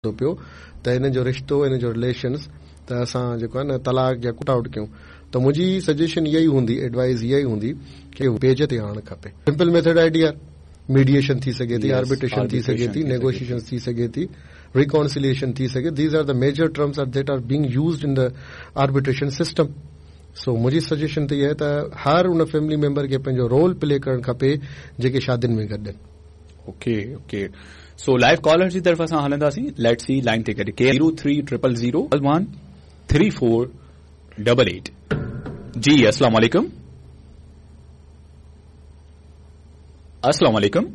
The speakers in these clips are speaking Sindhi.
ٿو پيو ته هن جو رشتو هن جو رليشنس ته اسان جيڪو آهي نه طلاق يا ڪٽ آئوٽ ڪيون ته منهنجي سجيشن اها ئي هوندي ايڊوائز اها ئي هوندي ڪي پيج تي آڻڻ کپي simple method I D R mediation ٿي سگهي ٿي آربيٽريشن ٿي سگهي ٿي نيگوشيئيشن ٿي سگهي ٿي ريڪانسليئيشن ٿي سگهي these are the major terms are that are being used in the arbitration system so منهنجي سجيشن ته اها آهي ته هر ان فيملي ميمبر کي پنهنجو رول پلي ڪرڻ کپي جيڪي شادين ۾ گڏ آهن. Okay okay so live caller جي طرف اسان هلنداسين let's see line تي گڏ ڪير zero three triple zero one three four double eight جي السلام عليڪم السلام عليڪم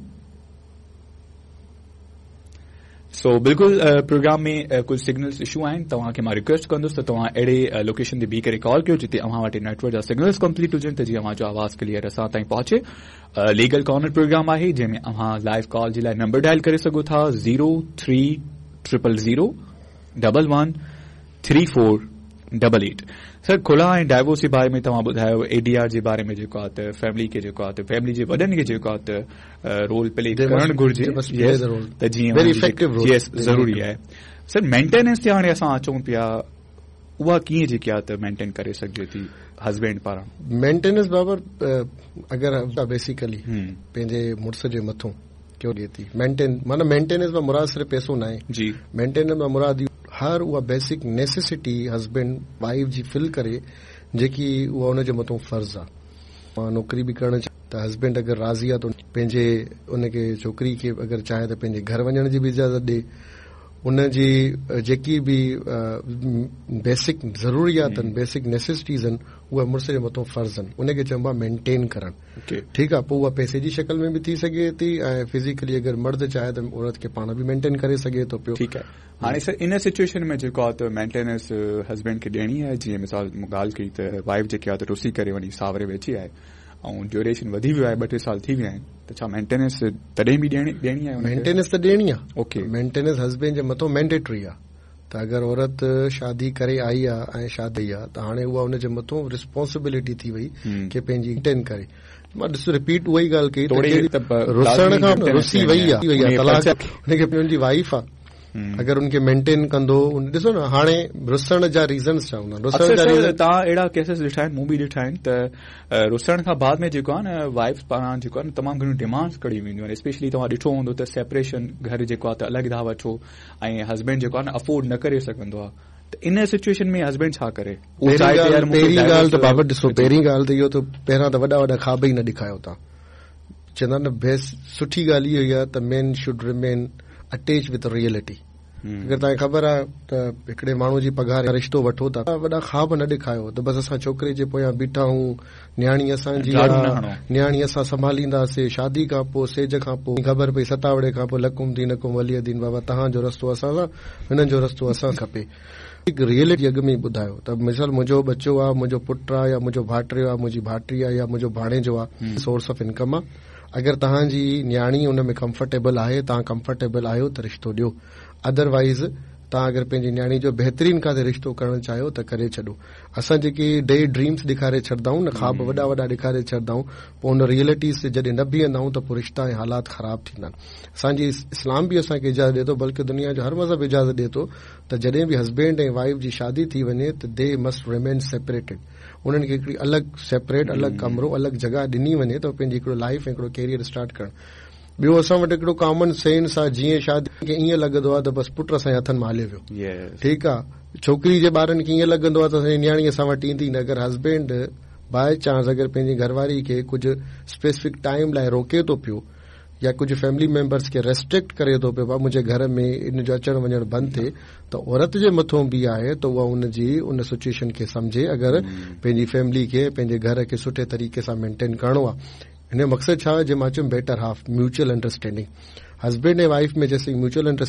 سو بلڪل پروگرام ۾ ڪجهه سگنلز اشو آهن توهان کي مان ريڪويسٽ ڪندس ته توهان اهڙي لوڪيشن تي بيهي ڪري ڪال ڪيو جتي اوهان وٽ نيٽورڪ جا سگنلز ڪمپليٽ هجن ته جيئن اوهان جو آواز ڪليئر اسان تائين پهچي ليگل ڪارنر پروگرام آهي جنهن ۾ اوهان لائيو ڪال جي لاء نمبر ڊائل ڪري سگهو ٿا zero three triple zero double one three four double eight sir خلع ۽ divorce جي باري ۾ توهان ٻڌايو اي ڊي آر جي باري ۾ جيڪو آهي ته فيملي کي جيڪو آهي ته فيملي جي وڏن کي جيڪو آهي ته رول پلي ڪرڻ گهرجي ته جيئن يس ضروري آهي سر مينٽيننس تي هاڻي اسان اچون پيا اها ڪيئن جيڪي آهي ته مينٽين ڪري سگهجي ٿي هسبينڊ پاران مينٽيننس بابر اگر بيسيڪلي پنهنجي مڙس جي مٿون ڪيو ڏي ٿي مينٽين معنيٰ مينٽيننس مان مراد صرف پئسو ناهي جي مينٽيننس مان مراد هر اها بيسڪ نيسيسٽي هسبينڊ وائيف جي فل ڪري جيڪي اها ان جي مٿون فرض آ مان نوڪري به ڪرڻ ته هسبينڊ اگر راضي آ ته پنهنجي ان کي ڇوڪري کي اگر چاهي ته پنهنجي گهر وڃڻ جي به اجازت ڏي ان جي جيڪي به بيسڪ ضروريات آهن بيسڪ نيسيسٽيز آهن اهي مڙس جي مٿون فرض آهن ان کي چئبو آ مينٽين ڪرڻ ٺيڪ آ پوء اها پئسي جي شڪل ۾ به ٿي سگهي ٿي ۽ فزيڪلي اگر مرد چاهي ته عورت کي پاڻ به مينٽين ڪري سگهي ٿو پيو. ٺيڪ آهي هاڻي سر ان سچوئيشن ۾ جيڪو آ ته مينٽيننس هسبينڊ کي ڏيڻي آهي جيئن مثال مون ڳالهه ڪئي ته وائيف جيڪي آ ته رسي ڪري وڃي ساوري ويٺي آهي ۽ ڊيوريشن وڌي ويو آهي ٻه ٽي سال ٿي ويا آهن ته ڇا مينٽيننس تڏهن به ڏيڻي ڏيڻي آهي مينٽيننس ته ڏيڻي آ اوڪي مينٽيننس هسبينڊ جي مٿو مينڊيٽري آ ته اگر عورت شادي ڪري آئي آ ۽ شادي آ ته هاڻي اها ان جي مٿون رسپانسبلٽي ٿي وئي ڪي پنهنجي مينٽين ڪري مان ڏس رپيٽ اها ئي ڳالهه ڪئي ته رسڻ کان رسي وئي آ طلاق ان کي ان جي وائيف آ اگر ان کي مينٽين ڪندو ڏسو نه هاڻي رسڻ جا ريزنس ڇا هوندا رسڻ جا ريزن توهان اهڙا ڪيسز ڏٺا آهن مون به ڏٺا آهن ته رسڻ کان بعد ۾ جيڪو آهي نه وائيف پاران جيڪو آهي نه تمام گهڻيون ڊيمانڊس ڪيون وينديون آهن اسپيشلي توهان ڏٺو هوندو ته سيپريشن گهر جيڪو آهي ته الڳ ٿا وٺو ۽ هسبينڊ جيڪو آهي نه افورڊ نه ڪري سگهندو آهي ته ان سچوئيشن ۾ هسبينڊ ڇا ڪري اهو چاهي ته يار مون کي پهرين ڳالهه ته بابر ڏسو پهرين ڳالهه ته اهو ته پهريان ته وڏا وڏا خواب ئي نه ڏيکايو توهان چوندا آهن نه بيسٽ سٺي ڳالهه اها ئي آهي ته man should remain attach with reality اگر توهان کي خبر آهي ته هڪڙي ماڻهو جي پگهار رشتو وٺو ٿا وڏا خواب نه ڏيکايو ته بس اسان ڇوڪري جي پويان بيٺا آهيون نياڻي اسان جي آ، نياڻي اسان سنڀالينداسي، شادي کان پوء، سيج کان پوء، خبر پئي ستاوڙي کان پوء لڪم دينڪم ولي دين بابا توهان جو رستو اسان سان، هنن جو رستو اسان سان کپي. هڪ ريئلٽي اڳ ۾ ئي ٻڌايو ته مثال منهنجو ٻچو آ، منهنجو پٽ آ يا منهنجو ڀائٽيو آ، منهنجي ڀائٽي آ يا منهنجو ڀاڻيجو آ، سورس آف انڪم آ، اگر توهان جي نياڻي ان ۾ ڪمفرٽيبل آهي، توهان ڪمفرٽيبل آهيو ته رشتو ڏيو، ادروائيز توهان اگر پنهنجي نياڻي جو بهترين ڪاٿي رشتو ڪرڻ چاهيو ته ڪري ڇڏو. اسان جيڪي ڊي ڊريمز ڏيکاري ڇڏندا آهيون نه خواب وڏا وڏا ڏيکاري ڇڏندا آهيون پوء ان ريئلٽيز تي جڏهن نه بيهندا آهيون ته پوء رشتا ۽ حالات خراب ٿيندا آهن اسان جي اسلام به اسان کي اجازت ڏي ٿو بلڪه دنيا جو هر مذهب اجازت ڏي ٿو ته جڏهن به هسبينڊ ۽ وائيف جي شادي ٿي وڃي ته the must remain separated انهن کي هڪڙي الڳ سيپريٽ الڳ ڪمرو الڳ جڳهه ڏني وڃي ته پنهنجي هڪڙو لائيف ۽ هڪڙو ڪيريئر اسٽارٽ ڪرڻ ٻيو اسان وٽ هڪڙو ڪامن سينس آ جيئن شادي کي ائين لڳندو آ ته بس پٽ اسان جي هٿن مان هليو ويو ٺيڪ آ ڇوڪري جي ٻارن کي ائين لڳندو آ ته اسان جي نياڻي اسان وٽ ايندي نه اگر هسبينڊ باء چانس اگر پنهنجي گهر واري کي ڪجهه اسپيسفڪ ٽائيم لاء روڪي ٿو پيو يا ڪجهه فيملي ميمبرس کي ريسٽرڪٽ ڪري ٿو پيو ڀا منهنجي گهر ۾ ان جو اچڻ وڃڻ بند ٿئي ته عورت جي مٿون به آهي ته اها ان جي ان سچوئيشن کي سمجهي اگر پنهنجي فيملي کي پنهنجي گهر کي سٺي طريقي سان مينٽين ڪرڻو آ هن جو مقصد ڇا آهي جي مان چيم better half mutual understanding husband ۽ wife ۾ جيسين ميوچل انڊرسٽينڊنگ.